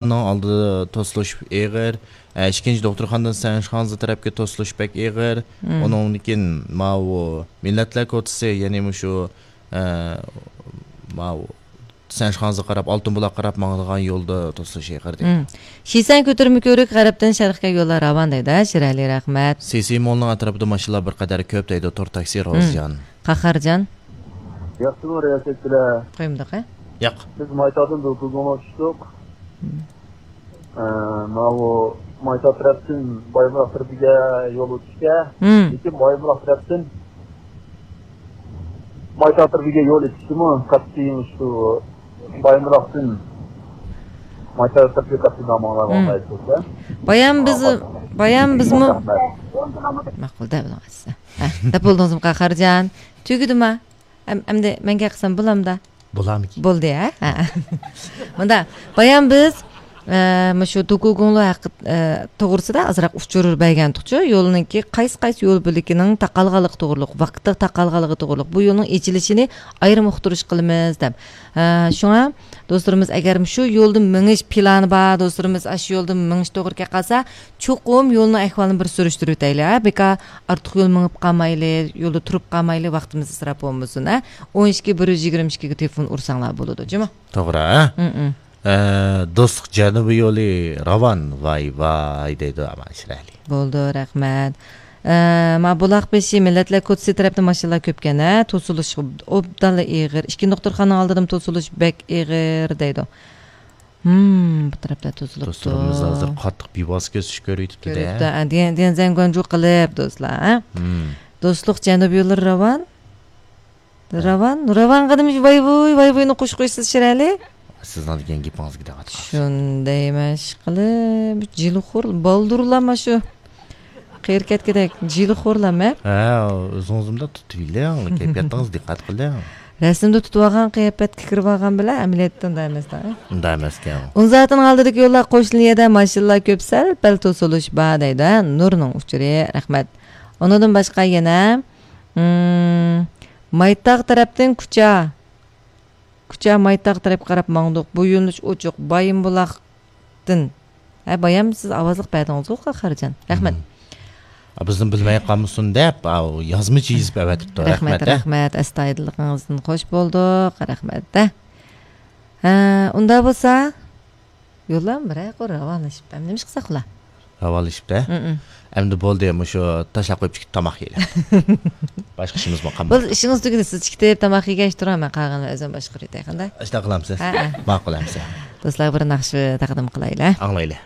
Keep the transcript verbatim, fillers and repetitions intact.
ئالدىدا توسۇلۇش ئېغىر. ئە، ئىككىنچى دوختۇرخانىدىن سەنشىخاڭزى تەرەپكە توسۇلۇش بەك ئېغىر. مم. ئۇنىڭدىن كېيىن ماۋۇ مىللەتلەر كوچىسى، يەنى مۇشۇ، ئە، ماۋۇ سەنشىخاڭزىغا قاراپ، ئالتۇن بۇلاققا قاراپ ماڭىدىغان يولدا توسۇلۇش ئېغىر دەيدۇ. مم. شىسەن كۆتۈرمە كۆۋرۈك غەربتىن شەرققە يوللار راۋان دەيدۇ، ھە، شىرئەلى، رەھمەت. سىسى مولنىڭ ئەتراپىدا ماشىنىلار بىر قەدەر كۆپ دەيدۇ، تور تاكسى، مم. روزىجان. قاھارجان. ياخشىمۇ رىياسەتچىلەر؟ قويمىدۇق، ھە؟ ياق. بىز مايتاغدىن دۇكۇگۇڭغا چۈشتۇق. مم. ئە، ماۋۇ مايتاغ تەرەپتىن بايبۇلاق تەرىپىگە يول ئۆتۈشكە، مم. لېكىن بايبۇلاق تەرەپتىن مايتاغ تەرىپىگە يول ئېچىشىمۇ قەتئىي شۇ بايبۇلاقتىن مايتاغ تەرىپىگە قەتئىي ناماڭلار مم. بايام بىز، بايام بىزمۇ؟ ماقۇل، دەپ بولدىڭىزمۇ، قاھارجان؟ تۈگىدىما؟ ئەم-، ئەمدى مەن گەپ قىلسام بولامدا؟ بولامىكىن؟ بولدى، ھە؟ ھە. مۇندا، بايام بىز، ئە، مۇشۇ دوكۇگۇڭلۇ ھەققى، ئە، توغرىسىدا ئازراق ئۇچۇر بەرگەنتۇقچۇ. يولنىڭكى قايسى، قايسى يول بۆلىكىنىڭ تاقالغانلىقى توغرىلىق، ۋاقىتتا تاقالغانلىقى توغرىلىق، بۇ يولنىڭ ئېچىلىشىنى ئايرىم ئۇقتۇرۇش قىلىمىز دەپ. ئە، شۇڭا دوستلىرىمىز، ئەگەر شۇ يولدا مېڭىش پىلانى بار دوستلىرىمىز، ئاشۇ يولدا مېڭىش توغرا كەپ قالسا، چوقۇم يولنىڭ ئەھۋالىنى بىر سۈرۈشتۈرۈۋېتەيلى، ھە؟ بىكار ئارتۇق يول مېڭىپ قالمايلى، يولدا تۇرۇپ قالمايلى، ۋاقتىمىز ئىسراپ بولمىسۇن، ھە؟ ئون ئىككى، بىر يۈز يىگىرمە ئىككىگە تېلېفون ئۇرساڭلار بولىدۇ، جۇمۇ؟ توغرا، ھە؟ مم، مم. ئە، دوستلۇق جەنۇبىي يولى راۋان، ۋاي، ۋاي دەيدۇ، ئامان شىرئەلى. بولدى، رەھمەت. ئە، ما بۇلاق بېشى مىللەتلەر كوچىسى تەرەپتە ماشىنىلار كۆپكەن، ھە؟ توسۇلۇش ئوبدانلا ئېغىر. ئىككى دوختۇرخانا ئالدىدىمۇ توسۇلۇش بەك ئېغىر دەيدۇ. ھىم، بۇ تەرەپلەر توسۇلۇپتۇ. دوستلىرىمىز ھازىر قاتتىق بىۋاسىتە كۆز كۆرۈۋېتىپتۇ-دە. كۆرۈپتۇ، ئە، دىيەن، دىيەن زەنگۇەنجۇ قىلىپ، دوستلار، ھە؟ ھىم. دوستلۇق جەنۇبىي يوللىرى راۋان. ھە. راۋان، راۋانغا نېمە ۋاي ۋۇي، ۋاي ۋۇينى قوشۇپ قويىسىز شىرئەلى؟ سىزنىڭ دېگەن گېپىڭىزگە دىققەت قىلىڭ. شۇندايمەن، ئىشقىلىپ، جىلىخور، بالدۇرلار مانا شۇ. قېرى كەتكۈدەك جىلىخورلام، ھە؟ ھە، ئۆزىڭىز مۇنداق تۇتۇۋېلىڭ، كەيپىياتىڭىزغا دىققەت قىلىڭ. رەسىمدە تۇتۇۋالغان قىياپەتكە كىرىۋالغان بىلەن ئەمەلىيەتتە ئۇنداق ئەمەس-دە. ئۇنداق ئەمەسكەن. ئۇنزاتىنىڭ ئالدىدىكى يوللار قوشنا يەردە ماشىنىلار كۆپ، سەل-پەل توسۇلۇش بار دەيدۇ، ھە؟ نۇرنىڭ ئۇچۇرى، رەھمەت. ئۇنىڭدىن باشقا يەنە، مم، مايتاغ تەرەپتىن كۇچا. كۇچا مايتاغ تەرەپكە قاراپ ماڭدۇق. بۇ يۆنىلىش ئوچۇق. بايىنبۇلاقتىن. ھە، بايام سىز ئاۋازلىق بەردىڭىزغۇ، قاھارجان. رەھمەت. مم. بىزنى بىلمەي قالمىسۇن دەپ، ئاۋۇ يازمىچە يېزىپ ئەۋەتىپتۇ. رەھمەت، رەھمەت، ھە؟ رەھمەت. ئەستايىدىللىقىڭىزدىن خوش بولدۇق. رەھمەت، ھە. ھە، ئۇنداق بولسا، يوللام بىرەر قۇر راۋانلىشىپ، ئەمدى نېمە ئىش قىلساق ئۇلار؟ راۋانلىشىپتۇ. مم، مم. ئەمدى بولدى، مۇشۇ تاشلاپ قويۇپ چىقىپ تاماق يەيلى. باشقا ئىشىمىزمۇ قالمىدى. بولدى، ئىشىڭىز تۈگىدى، سىز چىقىپ تاماق يېگەچ تۇرۇڭ، مەن قالغىنىنى ئۆزۈم باشقۇرۇۋېتەي، قانداق؟ ئاشۇنداق قىلامسىز؟ ھە، ھە. ماقۇل ئەمسە. دوستلار، بىر ناخشا تەقدىم قىلايلى. ئاڭلايلى.